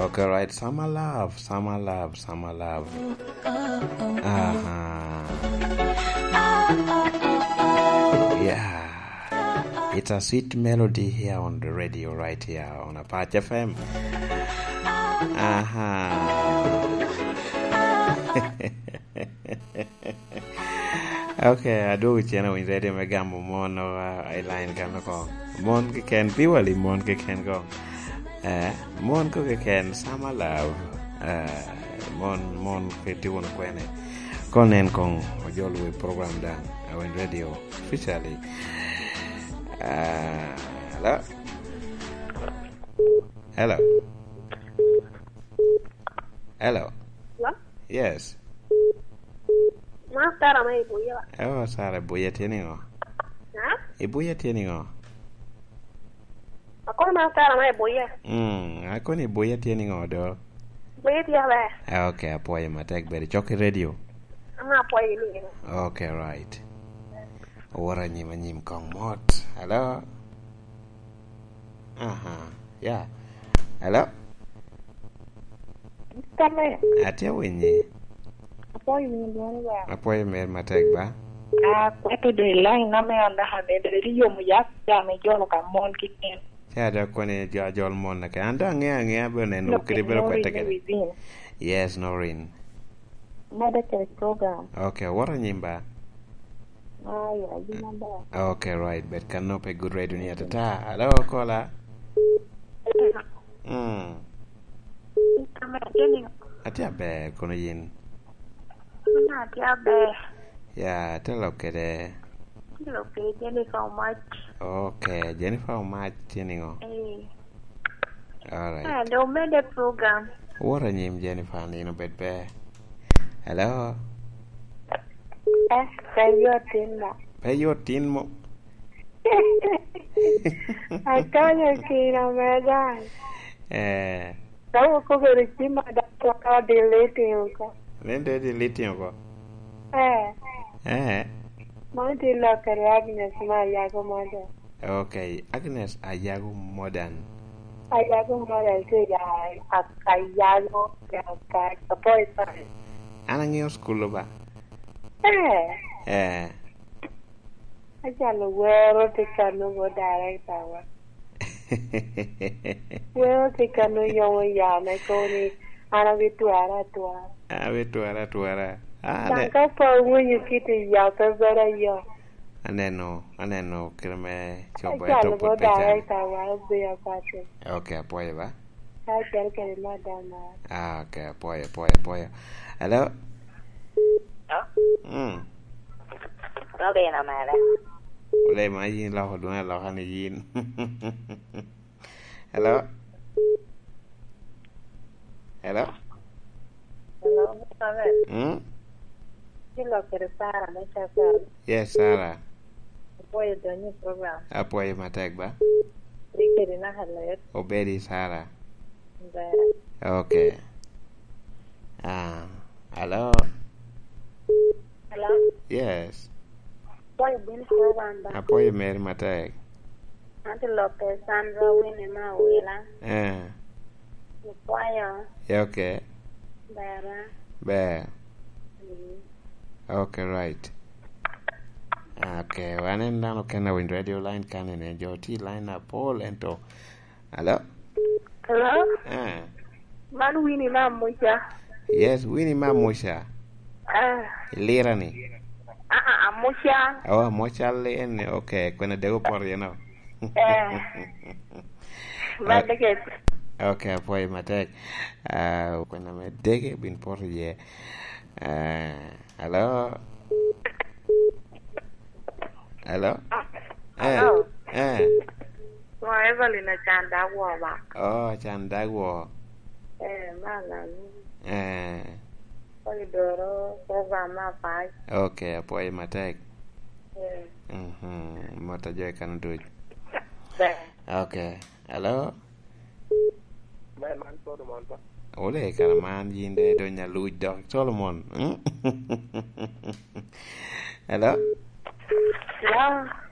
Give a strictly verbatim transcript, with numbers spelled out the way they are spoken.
Okay, right. Summer love, summer love, summer love. Uh-huh. Yeah. It's a sweet melody here on the radio right here on Apache F M. Uh-huh. Okay, adwogo cen awiny radio me gamo mon, uh, i line kan oko. Mon keken, pi wali mon keken ko. Eh, mon ko keken, summer love. Eh, mon, mon ke tye wunu kwene? Kono nen kong ojolo i program daŋ, awiny radio officially. Eh, hello? Hello? Hello? Hello? Yes. Ma Sara ma i Buya. Oh, Sara, Buya tye niŋo? Ha? I Buya tye niŋo? Akono ma Sara ma i Buya. Mm, akono i Buya tye niŋo do? Buya tye aber. Ah, okay, apwoyo matek, bedo cok i radio. Ama apwoyo ni. Okay, right. Oworo anyim anyim kong mot. Hello? Aha, yeah. Hello? Kame. Atye awinyi. Apwoyo winyo dwoni ba. Apwoyo mer matek ba. Ah, kweto de line na me onda ha de, de yomo ya, ya me jolo ka mon kiken. Ca dok koni jo ajol mon na ke. An dong aŋeo aŋea be oneno kede bedo kwete kede. Yes, Noreen. Mede kede program. Okay, wot anyim ba. Aya, gin aber. Okay, right. Bet kano pe good radio ni atata. Hello, Kola. Mm. Atye aber, kono yin? Kono atye aber. Ya, te lok kede? Te lok kede Jennifer Omac. Okay, Jennifer Omac tye niŋo? Eh. Alright. Eh, do mede program. Wot anyim, Jennifer, nino bed ber. Hello? Eh, pe yot tin mo. Pe yot tin mo? Akanyo kino me dai. Eh. Ka okobedo cim ma dai, to ka deleting oko. Nen de deleting oko. Eh. Eh. Mano tye lok kede Agnes ma Ayago Modern. Okay, Agnes Ayago Modern. Ayago Modern tye ya a-, Ayago, ya ka, Kapoipoi. An aŋeo school ba? Eh. Eh. Acalo wero tye kano go director wa. Wero tye kano yomo yame kono ni an abitwara atwara. An abitwara atwara. Ah, daŋ ne- ka pe awinyo kit i ya pe bedo ayot. Aneno, aneno kite me cobo. Acalo eto pwod go pe can. Director wa obedo apate. Okay, apwoyo ba. Ka acel kede madam mara. Ah, okay, apwoyo, apwoyo, apwoyo. Hello? Hello? Mm. Robin omera. Ole ma yin loko dwoni aloka ni yin. Hello? Hello? Hello, Robin. Mm? Ci lok kede Sara me Cakal. Yes, Sara. Apwoyo donyo i program. Apwoyo matek ba. Rik kede naka let. Obedi, Sara. Ber. Okay. Ah, hello? Hello? Yes. Apwoyo bino i program ba. Apwoyo meri matek. An tye lok kede Sandra Winnie me Awila. Eh. Apwoyo. Yeah, okay. Ber ba. Ber. Mm. Okay, right. Okay, wan en dano kena winy radio line kan ene, jo tye i line apol ento. Hello? Hello? Eh. Man Winnie me Amuca. Yes, Winnie me Amuca. Ah. Ilira ni? Ah, ah, Amuca. Oh, Amuca li en, okay, kwena dego poto yen o. Eh. Mad dege. Okay, apwoyo matek. Ah, kwena me dege bin poto iye. Ah, hello? Hello? Eh, hello? Eh. Wa Evelyn Acan Dagwo ba. Oh, Acan Dagwo. Eh, ma nani? Eh. Pwod idoro program me apac. Okay, apwoyo matek. Eh. Mhm, mot a jo i kano duc. Ber. Okay. Hello? Man, man Solomon pa. Ole, kara man yin de dong aluc dok. Solomon. Mm? Hello? Hello?